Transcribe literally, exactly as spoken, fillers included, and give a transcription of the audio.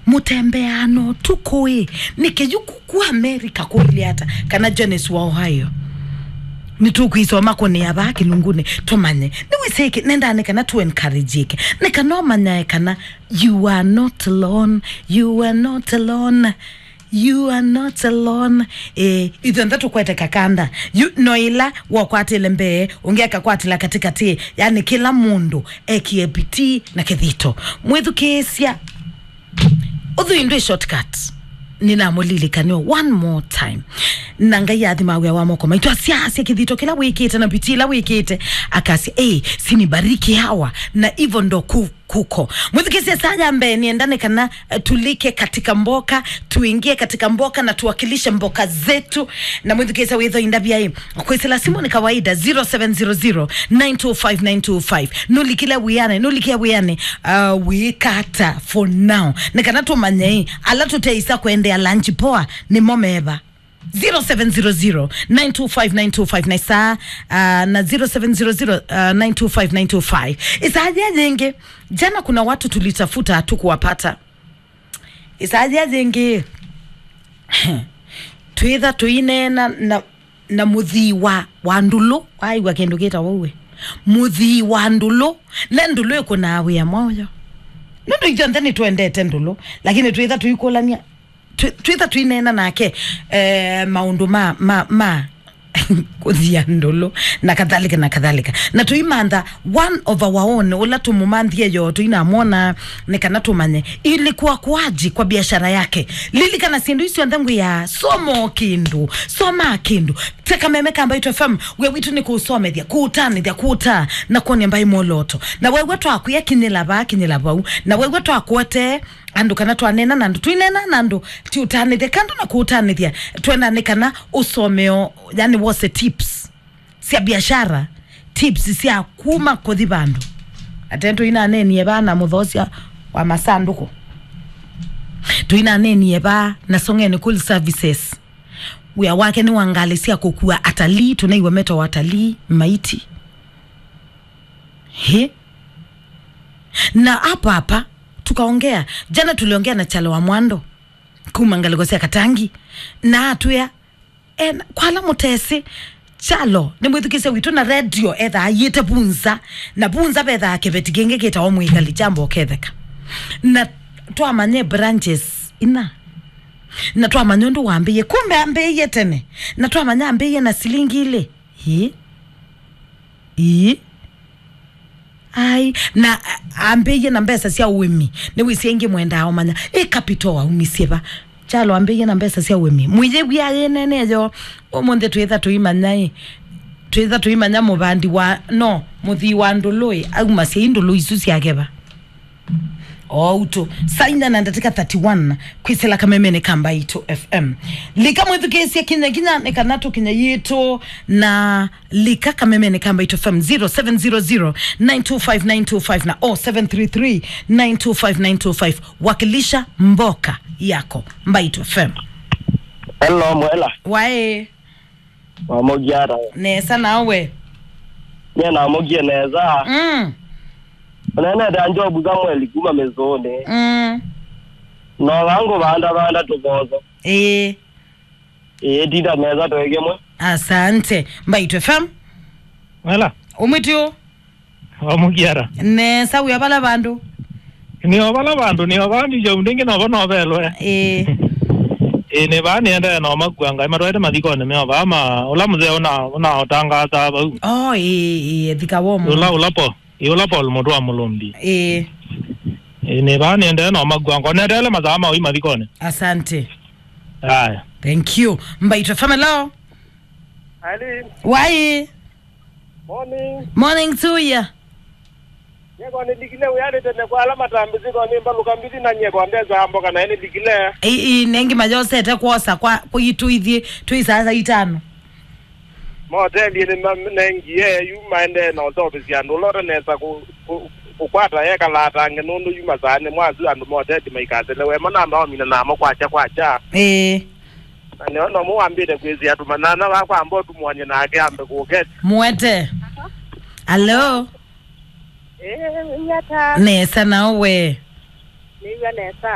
Mũtembeaa na ũtukũ ĩ, nĩkĩ yu ku, ku America kũilye ata? Kana Jones wa Ohio? Nĩtũkwĩsoma kũnĩa vaa kĩlungunĩ tũmanye. Nĩwĩsĩ ĩkĩ, nendaa nĩ kana tũ encourage ĩkĩ. Nĩ kana ũmanyae kana you are not alone, you are not alone. You are not alone. Eh, ithyonthe tũkwete kakanda. Yu no ĩla wakwatĩle mbee, ũngĩ akakwatĩla katĩkatĩ, yani kĩla mũndũ ekie pitii na kĩthito. Mwĩthukĩĩsya, ũthũi ndwĩ shortcut. Nĩnamũlilikanĩo one more time. Na Ngai athima wĩa wa moko maitũ, asya, asya kĩthito kĩla wĩkĩte na pitii ĩla wĩkĩte, akasya, "Ei, sinibariki hawa." Na hivyo ndo ku kuko. Mwĩthukĩĩsye saa ya mbee, nienda nĩ kana, eh, tulike katika mboka, tuingie katika mboka na tuwakilishe mboka zetu. Na mwĩthukĩĩsye wĩtho indavya ĩ, kwĩsĩla simũ nĩ kawaida, zero seven zero zero, nine two five, nine two five. Nũlikile wĩanĩ, nũlikie wĩanĩ, uh, wĩkata for now. Nĩ kana tũmanye ĩ, ala tũteisa kwendea lunch poa, nĩmo meva. Zero seven zero zero, nine two five, nine two five na isaa, uh, na zero seven zero zero, uh, nine two five, nine two five. Isaa yĩngĩ, jana kuna watu tulitafuta hatukuwapata. Isaa yĩngĩ, twĩtha tũineena na, na mũthii wa, wa ndũlũ, waigua kĩndũ kĩtawa ũwe. Mũthii wa ndũlũ, ne ndũlũ ĩkũnaa wĩa mwaũyo. Nũndũ ithyonthe nĩtwendete ndũlũ, lakini twĩtha tũikũlany'a, twĩ- twĩtha tũineena nake, eh, maũndũ ma, ma, ma kũthia ndũlũ, na kadhalika, na kadhalika. Na tũimantha one of our own, ũla tũmũmanthie yo, tũinamwona, nĩ kana tũmanye ilikuwa kwaji kwa biashara yake. Lilikana syĩndũ isu syonthe ngwĩa, soma o kĩndũ, soma kĩndũ. Teka meme kamba itu F M, wĩa witũ nĩ kũũsomethya, kũũtanĩthya, kũũtaa, na kwonia mbaĩ mwoloto. Na wew'a twakwĩa kinyĩla vaa, kinyĩla vau. Na wew'a twakwete andũ kana twaneena na andũ, tũineena na andũ, ti ũtanĩthya kandũ na kũũtanĩthya, twenda nĩ kana ũsomeo, yani wose tips sya biashara, tips sya kuma kũthi vandũ. Ate tũinanenie vaa na mũthosya wa masandũkũ, tũinanenie vaa na Songeni Cool Services. Wĩa wake nĩ wa ngalĩ sya kũkua atalii, tũnaĩw'a metawa atalii maiti. He? Na hapa hapa tukaongea. Jana tuliongea na Chalo wa Mwando kuma ngalĩko sya Katangi, na atwĩa, e, kwa ala mũtesĩ, Chalo nĩ mwĩthukĩĩsya witũ na radio ethaa aiĩte Vunza, na Vunza vethaa kĩveti kĩngĩ kĩtawa Mwĩkali kya Mboketheka. Na twamanye branches ina, na twamanya ũndũ wambĩĩe. Kumbe ambĩĩe tene, na twamanya ambĩĩe na silingi ilĩ. Ĩĩ. Ĩĩ. Ai, na a- ambĩĩe na mbesa sya ũĩmi. Nĩwĩsĩ aingĩ mwendaa ũmanya, ĩ capital aumisye va? Chalo ambĩĩe na mbesa sya ũĩmi. Mwĩyĩw'ĩa yĩnene yo, ũmũnthĩ twĩtha tũimanya ĩ, twĩtha tũimanya mũvandi wa, no, mũthii wa ndũlũ ĩ, aumasya i ndũlũ isu syake va? Outu, saa inya na ndatĩka thirty-one, kwĩsĩla kamemene ka Mbaitũ F M. Lika mwĩthukĩĩsye kinya kinya nĩ kana tũkinye yitũ na lika kamemene ka Mbaitũ F M, zero seven zero zero, nine two five, nine two five na oh seven three three, nine two five, nine two five. Wakilisha mboka yako, Mbaitũ F M. Hello, Mwela. Wae. Wamogia ata? Nesa nawe? Nye namogie nesa. Mm. Ũnenete Job Samuel kuma Mĩsũnĩ. Mm. No wangu vanda vanda tũvoso. Ĩĩ. Ĩĩ, tinda nesa twĩ kĩmwe. Asante. Mbaitũ F M. Wela. Umwĩtũ. Wamukiara. Nesa, wĩa vala vandũ? Nĩ o vala vandũ, nĩ o vaa ndicho ndingi novo novelwe. Ĩĩ. Ĩĩ, nĩ vaa nĩendee no makua Ngai matwaĩte mathikonĩ meo vaa ma, ũla mũzee ũna, ũnaũtangaasa vau. Oh, ĩĩ, ĩĩ, thika womo. Ũla, ũla po, ĩ ũla Paul mũtũ wa Mũlũmbi. Ĩĩ. Ĩĩ, nĩ vaa nĩendee no makua ngoneteele masaa ma ũi mathikonĩ. Asante. Aya. Thank you. Mbaitũ F M, hello. Irene. Wai. Morning. Morning to you. Nyeko nĩlikile wĩanĩ tene kwa ala matambĩsĩ, ko nĩ mbalũka mbithi na nyeko ndesa mboka naĩ nĩlikile. Ii, ii, nengi mayosete kwosa kwa, kwitũ ithyĩ twĩ saa itano. Maotelinĩ ma-, nengie yu maendee na ũseũvĩsya andũ ũla ũtanesa kũ-, kũ-, kũkwata ekalatange nũndũ yu masaanĩ mwasu andũ moteli maikaselewe mo namba omina namo kwakya kwakya. Ĩĩ. Na nĩo nomũ wambĩte kwĩsĩa tũmanyana vakwa amba ũtũmũany'e nake ambe kũketi. Mwete. Alo. Ĩĩ, wĩata? Nesa, nawe? nĩw'a nesa.